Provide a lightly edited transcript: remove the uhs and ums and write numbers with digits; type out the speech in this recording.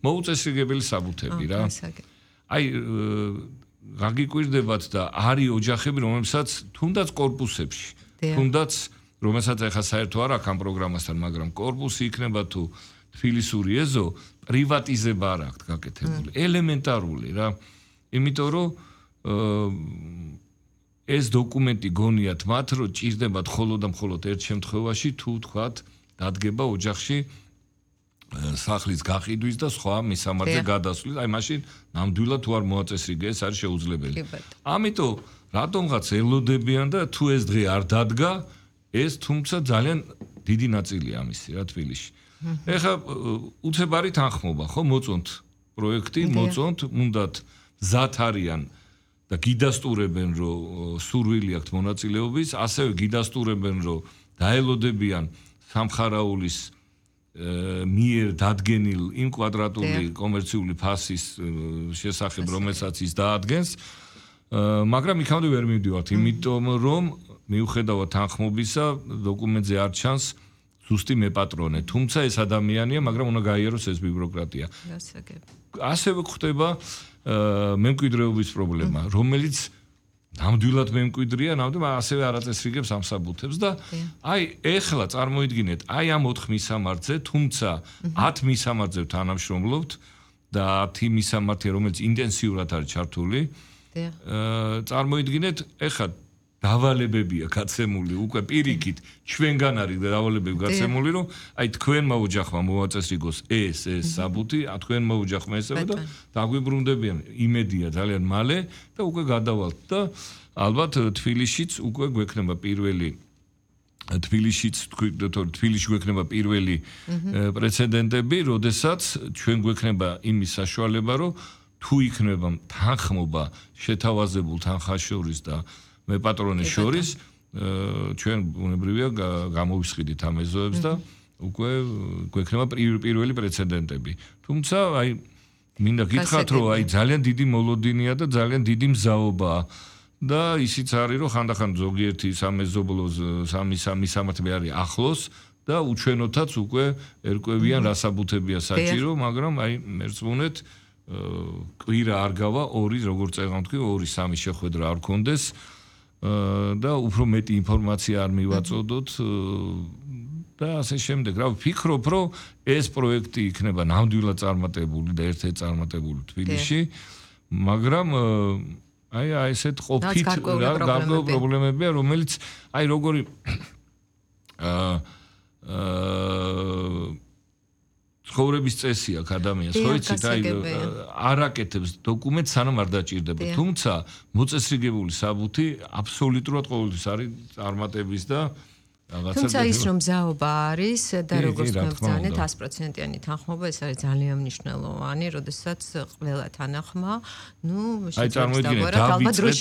მოუწესრიგებელი საბუთები რა. აი გაგიკვირდებათ და არის ოჯახები, რომელსაც თუნდაც კორპუსებში, თუნდაც რომელსაც ახლა საერთო არ აქვს ამ პროგრამასთან, მაგრამ კორპუსი იქნება თუ თბილისური ეზო, პრივატიზება არ აქვს გაკეთებული. ელემენტარული რა. იმიტომ რომ ეს დოკუმენტი გონიათ მათ, რომ ჭირდებათ მხოლოდ და მხოლოდ ერთ შემთხვევაში თუ თქვათ დადგება ოჯახში სახლის გაყიდვის და სხვა მისამართზე გადასვლის, აი მაშინ ნამდვილად თუ არ მოაწესრიგე, ეს არის შეუძლებელი. ამიტომ რატომღაც ელოდებიან და თუ ეს დღე არ დადგა, ეს თუმცა ძალიან დიდი ნაწილია ამისი რა თბილისში. ეხლა უცებარი თანხმობა, ხო, მოწონთ პროექტი, მოწონთ, უნდათ მზად არიან და გიდასტურებენ, რომ სურვილი აქვთ მონაწილეობის, ასევე გიდასტურებენ, რომ დაელოდებიან სამხარაულის მიერ დადგენილ იმ კვადრატული კომერციული ფასის შესახებ, რომელსაც ის დაადგენს, მაგრამ იქამდე ვერ მივდივართ, იმიტომ რომ მიუხედავად თანხმობისა, დოკუმენტზე არ ჩანს ზუსტი მეპატრონე, თუმცა ეს ადამიანია, მაგრამ უნდა გაიაროს ეს ბიუროკრატია. ასევე გვხდება მემკვიდრეობის პრობლემა, რომელიც ნამდვილად მემკვიდრეა, ნამდვილად ასევე არ აწესრიგებს ამ საბუთებს და აი ეხლა წარმოიდგინეთ, აი ამ 4 მისამართზე, თუმცა 10 მისამართზე თანამშრომლობთ და 10 მისამართი, რომელიც ინტენსიურად არის ჩართული. წარმოიდგინეთ, ეხლა დავალებებია გაცემული უკვე პირიქით ჩვენგან არის დავალებები გაცემული, რომ აი თქვენმა ოჯახმა მოაწესრიგოს ეს საბუთი, თქვენმა ოჯახმა ესაა და დაგვიბრუნდებიან იმედია ძალიან მალე და უკვე გადავალთ და ალბათ თბილისშიც უკვე გვექნება პირველი თბილისში გვექნება პირველი პრეცედენტები, როდესაც ჩვენ გვექნება იმის საშუალება, რომ თუ იქნება თანხმობა შეთავაზებულ თანხაშორის და მეპატრონის შორის ჩვენ ბუნებრივია გამოვისყიდით ამ ეზოებს და უკვე გვექნება პირველი პრეცედენტები. თუმცა აი მინდა გითხრათ, რომ აი ძალიან დიდი მოლოდინია და ძალიან დიდი მზაობაა და ისიც არის, რომ ხანდახან ზოგიერთი სამეზობლოს მისამართები არის ახლოს და უჩვენოთაც უკვე ერკვევიან რა საბუთებია საჭირო, მაგრამ აი მერწმუნეთ კვირა არ გავა, როგორც წეგანთქვი, 2-3 შეხვედრა არ გქონდეს და უფრო მეტი ინფორმაცია არ მივაწოდოთ და ასე შემდეგ. რა ვფიქრობ, რომ ეს პროექტი იქნება ნამდვილად წარმატებული და ერთ-ერთი წარმატებული თბილისში, მაგრამ აი ესეთ ყოფით გარკვეული პრობლემებია, რომელიც აი როგორი ცხოვრების წესი აქვს ადამიანს, ხო იცით, აი არ აკეთებს დოკუმენტს, სანამ არ დაჭირდება. თუმცა მოწესრიგებული საბუთი აბსოლუტურად ყოველთვის არის წარმატების და თუმცა ის რომ მზაობა არის და როგორც მოვძანეთ 100%-იანი თანხმობა, ეს არის ძალიან მნიშვნელოვანი, როდესაც ყველა თანახმა, აი წარმოიდგინეთ,